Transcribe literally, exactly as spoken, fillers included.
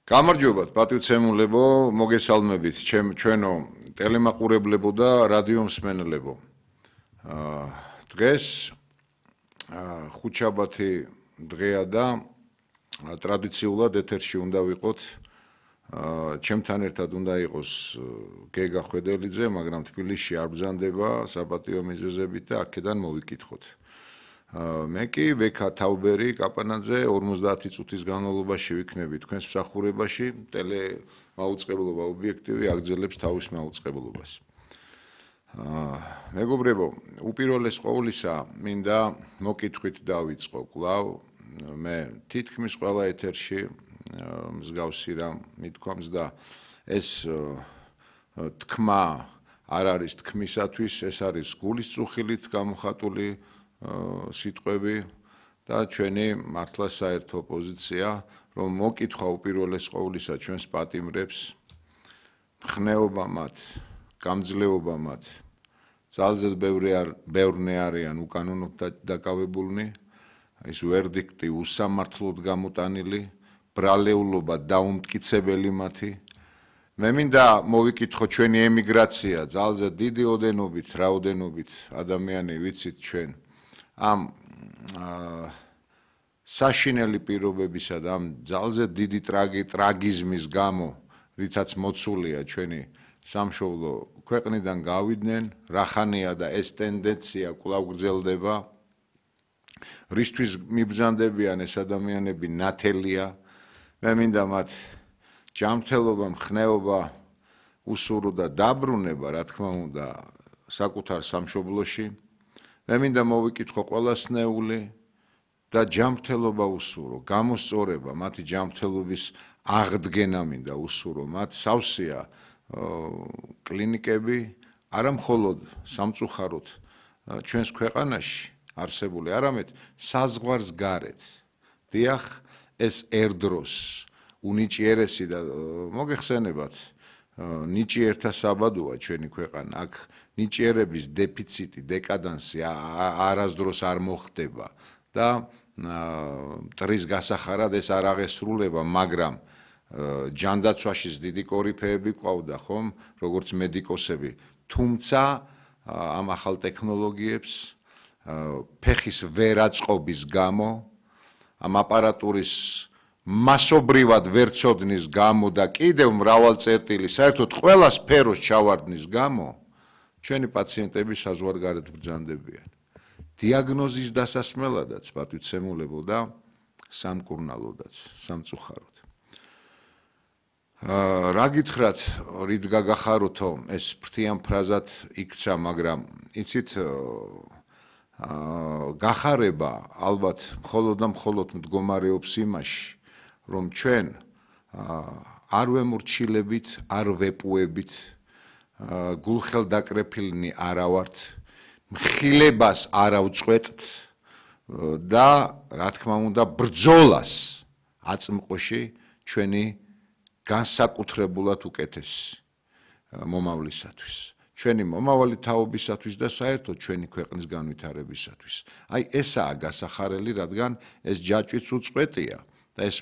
გამარჯობათ, პატივცემულებო, მოგესალმებით, ჩვენო ტელემაყურებლებო და რადიო მსმენელებო. დღეს ხუთშაბათი დღეა და ტრადიციულად ეთერში უნდა ვიყოთ. ჩემთან ერთად უნდა იყოს გეგა ხვედელიძე, მაგრამ თბილისში არ ბრძანდება საპატიო მიზეზებით და აქედან მოვიკითხოთ. მე კი ვექა თაუბერი კაპანაძე ორმოცდაათი წუთის განმავლობაში ვიქნები თქვენს მსახურებაში, ტელე მაუწყებლობა ობიექტივი აგრძელებს თავის მაუწყებლობას. მეგობრებო, უპირველეს ყოვლისა მინდა მოკითხვით დავიწყო კვლავ, მე თითქმის ყველა ეთერში მსგავსი რამ მithქვამს და ეს თქმა არ არის თქმისათვის, ეს არის გულის წუხილით გამოხატული სიტყვები და ჩვენი მართლა საერთო პოზიცია, რომ მოკითხვა უპირველეს ყოვლისა ჩვენს პატიმრებს, მხნეობა მათ, გამძლეობა მათ, ძალზედ ბევრნი არიან უკანონოდ დაკავებულნი, ის ვერდიქტი უსამართლოდ გამოტანილი, ბრალეულობა დაუმტკიცებელი მათი. მე მინდა მოვიკითხო ჩვენი ემიგრაცია, ძალზედ დიდი ოდენობით, რაოდენობით ადამიანი ვიცით ჩვენ ამ საშინელი პირობებისა და ამ ძალზედ დიდი ტრაგიზმის გამო, რითაც მოცულია ჩვენი სამშობლო ქვეყნიდან გავიდნენ, რახანია და ეს ტენდენცია კვლავ გრძელდება. რისთვის მიბრძანდებიან ეს ადამიანები ნათელია. მე მინდა მათ ჯანმრთელობა, მხნეობა, უსურო და დაბრუნება, რა თქმა უნდა, საკუთარ სამშობლოში. მე მინდა მოვიკითხო ყველასნეული და ჯანმრთელობა უსურო, გამოსწორება, მათი ჯანმრთელობის აღდგენა მინდა უსურო, მათ სავსეა კლინიკები, არა მხოლოდ სამწუხაროდ ჩვენს ქვეყანაში არსებული, არამედ საზღვარს გარეთ. დიახ, ეს ერდროს უნიჭიერესი და მოგეხსენებათ, ნიჭიერთა საბადოა ჩვენი ქვეყანა, აქ ნიჭიერების დეფიციტი, დეკადანსი არასდროს არ მოხდება და მტრის გასახარად ეს არ აღესრულება, მაგრამ ჯანდაცვაში დიდი კორიფეები ყავდა, ხომ, როგორც მედიკოსები, თუმცა ამ ახალ ტექნოლოგიებს ფეხის ვერაწყობის გამო, ამ აპარატურის მასობრივად ვერცოდნის გამო და კიდევ მრავალ წერტილი, საერთოდ ყველა სფეროს ჩავარდნის გამო, ჩვენი პაციენტები საზღვარგარეთ ბრძანდებიან. დიაგნოზის დასასმელადაც, პატივცემულებო და სამკურნალოდაც, სამწუხაროდ. რა გითხრათ, რით გაგახაროთო, ეს ფრთიან ფრაზად იქცა, მაგრამ იცით, გახარება ალბათ მხოლოდ და მხოლოდ მდგომარეობს იმაში, რომ ჩვენ არ ვემორჩილებით, არ ვეპუებით, გულხელდაკრეფილნი არა ვართ, მხილებას არ ავწყვეტთ და რა თქმა უნდა ბრძოლას აწმყოში ჩვენი განსაკუთრებულად უკეთესი მომავლისათვის. ჩვენი მომავალი თაობისათვის და საერთოდ ჩვენი ქვეყნის განვითარებისათვის. აი ესაა გასახარელი, რადგან ეს ჯაჭვიც უწყვეტია და ეს